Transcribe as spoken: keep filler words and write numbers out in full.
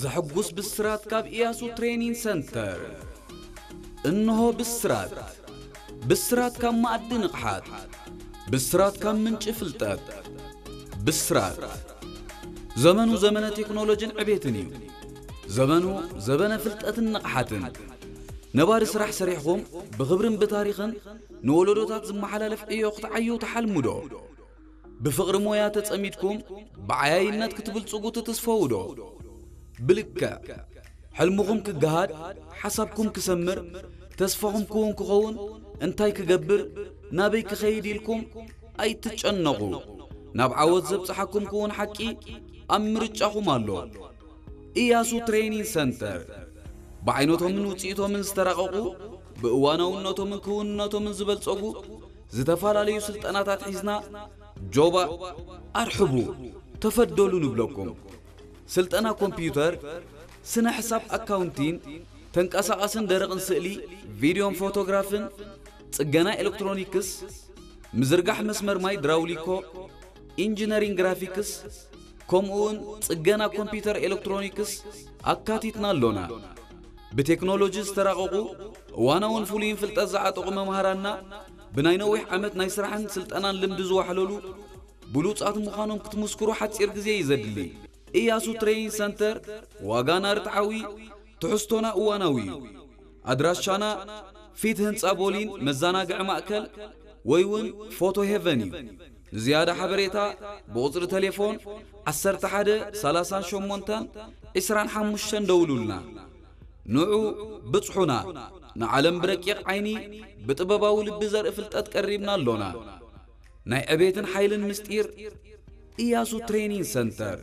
ዘሐጉስ ብስራት ካብ ኢያሱ ትሬኒንግ ሰንተር። እንሆ ብስራት። ብስራት ካብ ማእዲ ንቕሓት። ብስራት ካብ ምንጪ ፍልጠት። ብስራት። ዘመኑ ዘመነ ቴክኖሎጅን ዕቤትን እዩ። ዘመኑ ዘበነ ፍልጠትን ንቕሓትን። ነባሪ ስራሕ ሰሪሕኩም ብኽብርን ብታሪኽን ንወለዶታት ዝመሓላለፍ ዕዮ ክትዓዩ ተሓልሙ ዶ? ብፍቕሪ ሞያ ተጸሚድኩም ብዓያይነት ክትብልጽጉ ትትስፈዉ ዶ? ብልክዕ፣ ሕልምኹም ክገሃድ፣ ሓሳብኩም ክሰምር፣ ተስፋኹም ክውን ክኸውን፣ እንታይ ክገብር፣ ናበይ ክኸይድ ኢልኩም ኣይትጨነቑ። ናብ ዓወት ዘብጽሓኩም ክውን ሓቂ ኣብ ምርጫኹም ኣሎ። ኢያሱ ትሬኒንግ ሰንተር፣ ብዓይነቶምን ውጽኢቶምን ዝተራቐቑ፣ ብእዋናውነቶምን ክውንነቶምን ዝበልጸጉ ዝተፈላለዩ ስልጠናታት ሒዝና፣ ጆባ ኣርሕቡ፣ ተፈደሉ ንብለኩም። ስልጠና ኮምፒውተር፣ ስነ ሕሳብ ኣካውንቲን፣ ተንቀሳቓስን ደረቕን ስእሊ፣ ቪድዮን ፎቶግራፍን፣ ጽገና ኤሌክትሮኒክስ፣ ምዝርጋሕ መስመር ማይ ድራውሊኮ፣ ኢንጂነሪንግ ግራፊክስ፣ ከምኡውን ጽገና ኮምፒውተር ኤሌክትሮኒክስ ኣካቲትና ኣሎና። ብቴክኖሎጂ ዝተራቐቑ እዋናውን ፍሉይን ፍልጠት ዝዓጠቑ መምሃራንና፣ ብናይ ነዊሕ ዓመት ናይ ስራሕን ስልጠናን ልምዲ ዝዋሕለሉ ብሉጻት ምዃኖም ክትምስክሩ ሓጺር ግዜ እዩ ዘድሊ። ኢያሱ ትሬኒንግ ሰንተር፣ ዋጋና ርትዓዊ፣ ትሕዝቶና እዋናዊ እዩ። ኣድራሻና ፊት ህንጻ ቦሊን መዘናግዒ ማእከል ወይ እውን ፎቶ ሄቨን እዩ። ንዝያዳ ሓበሬታ ብቁጽሪ ተሌፎን ዓሰርተ ሓደ ሰላሳን ሸሞንተን ዕስራን ሓሙሽተን ደውሉልና። ንዑ ብጽሑና፣ ንዓለም ብረቂቕ ዓይኒ ብጥበባዊ ልቢ ዘርኢ ፍልጠት ቀሪብና ኣሎና። ናይ ዕቤትን ሓይልን ምስጢር፣ ኢያሱ ትሬኒንግ ሰንተር።